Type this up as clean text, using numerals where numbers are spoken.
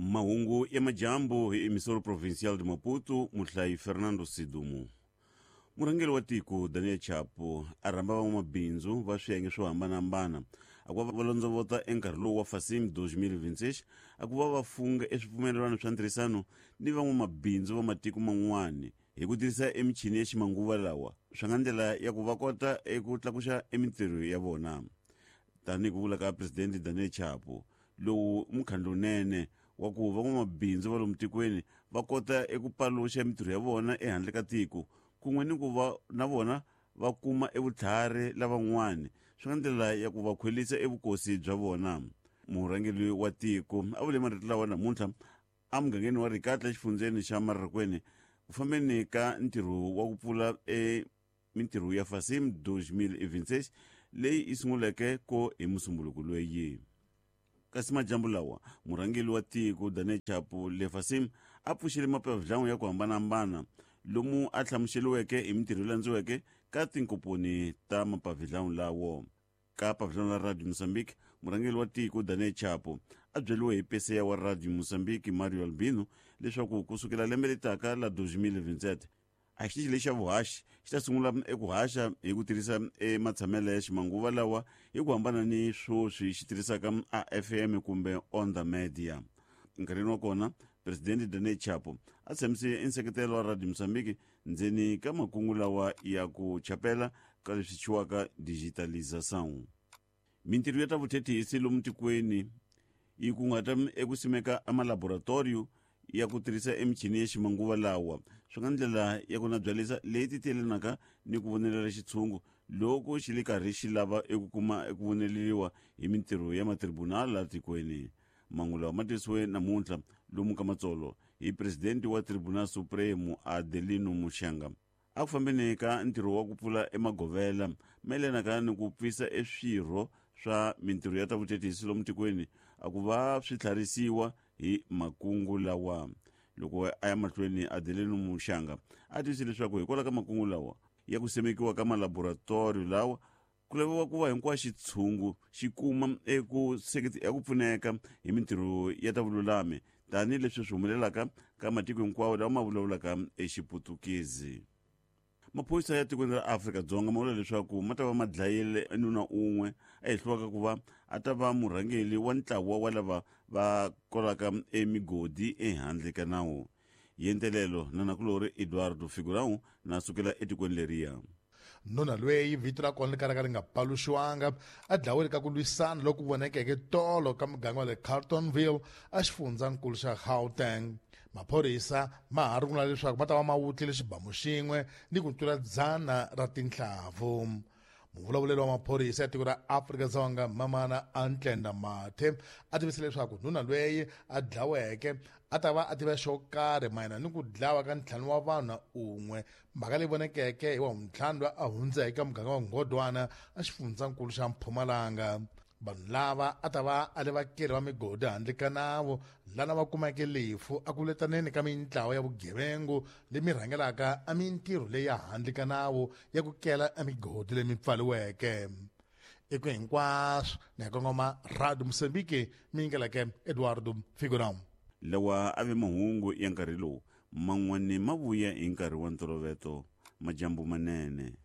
Mahungu ya majambu hi Emissora Provincial de Maputo, muhlayi Fernando Sidumo. Murhangeri wa tiko Daniel Chapo a rhamba van'wamabindzu va swiyenge swo hambanahambana a ku va va londzovota enkarhi lowu wa Fasim 2026 a ku va va funga eswipfumelelwano swa ntirhisano ni van'wamabindzu va matiko man'wana hi ku tirhisa emichini ya ximanguva lawa swi nga ndlela ya ku va kota eku tlakuxa emintirho ya vona. Tanihi ku vula ka Presidente Daniel Chapo, lowu i mukhandlu lowunene wa ku van'wamabindzu va lomu tikweni va kota eku paluxa mintirho ya vona ehandle ka tiko kun'we ni ku va na vona va kuma evutlhari lavan'wani swi nga ndlela ya ku va khwelisa evukosi bya vona. Murhangeri wa tiko a vule marito lawa namuntlha emugangeni wa Rikatla exifundzeni xa Mararakwene ku fambeni ka ntirho wa ku pfula e mintirho ya Fasim 2026 leyi yi sunguleke ko hi Musumbuluko loyi. Kasi majambu lawa, murhangeri wa tiko Daniel Chapo le Fasim a pfuxele mapavhidlangu ya ku hambanahambana lomu a hlamuseliweke hi mintirho yi landziweke ka tinkomponi ta mapavhidlangu lawo. Ka pavhidlangu la Radio Mozambique, murhangeri wa tiko Daniel Chapo a byeliwe hi peseya wa Radio Mozambique Mario Albino leswaku kusukela lembe letaka la 2027 a xitichi lexi xa vuhaxi xi ta sungula eku haxa hi ku tirhisa ematshamelo ya ximanguva lawa hi ku hambana ni swoswi xi tirhisaka a FM kumbe on the media. Nkarhini wa kona, Presidente Daniel Chapo a tshamise nseketelo wa Radio Mozambique ndzeni ka makungu lawa ya ku chapela ka leswi thyiwaka digitalização. Mintirho ya ta vuthethisi lomu tikweni yi kunguhata eku simeka amalaboratoriyo ya ku tirhisa emichini ya ximanguva lawa swi nga ndlela ya ku nabyalisa leyi titelanaka ni ku vonelela xitshungu loko xi le karhi xi lava eku kuma eku voneleriwa hi mintirho ya matribunal la tikweni. Mangu lawa ma tisiwe namuntlha lomu ka Matsolo hi presidente wa Tribunal Supremo Adelino Mushanga. A ku fambeni ka ntirho wa ku pfula emagovela mayelanaka ni ku pfisa eswirho swa mintirho ya ta vuthethisi lomu tikweni a ku va swi tlharisiwa hi makungu lawa. Loko a ya mahlweni Adelino Mushanga a tivise leswaku hikwalaho ka makungu lawa ya ku simekiwa ka malaboratoriyo lawa ku laviwa ku va hinkwaxo xitshungu xi kuma eku eku pfuneka hi mintirho ya ta vululami tanihileswi swi humelelaka ka matiko hinkwawo lawa ma vulavulaka exiputukezi. Maphorisa ya tikweni ra Afrika-Dzonga ma vula leswaku ma ta va ma dlayile nuna un'we a hehliwaka ku va a ta va murhangeri wa ntlawa wa lava va kolaka emigodi ehandle ka nawu. Yentelelo na nakulorhi Eduardo Figurão na sukela etikweni leriya. Nuna loyi vito ra kona ri kalaka ri nga paluxiwanga a dlawile ka ku lwisana loku vonekeke tolo ka muganga wa le Carltonville exifundzhankulu xa Gauteng. Maphorisa ma ha rungula leswaku ma ta va ma wutlile xibamu xin'we ni ku tlula dzana ra tinhlavu. Muvulavuleri wa maphorisa ya tiko ra Afrika-Dzonga Mamana Antlenda Mathe a tivise leswaku nuna loyi a dlaweke a ta va a tiva xo karhi mayelana ni ku dlawa ka ntlhanu wa vanhu na un'we mhaka leyi vonekeke hi wa vuntlhanu loyi a hundzeke ka muganga wa Ngodwana exifundzhankulu xa Mpumalanga. Vanhu lava a ta va a le vakeri va migodi handle ka nawu lana va kumeke lefu a ku letaneni ka mintlawa ya vugevengu lemi rhangelaka a mintirho leyi ya handle ka nawu ya ku kela emigodi leyi pfaliweke. Eku hinkwaswo ni ya kongoma Radio Mozambique mi yingeleke Eduardo Figurão. Lawa a ve mahungu ya nkarhi lowu man'wana ma vuya hi nkarhi wa ntoloveto. Majambu manene.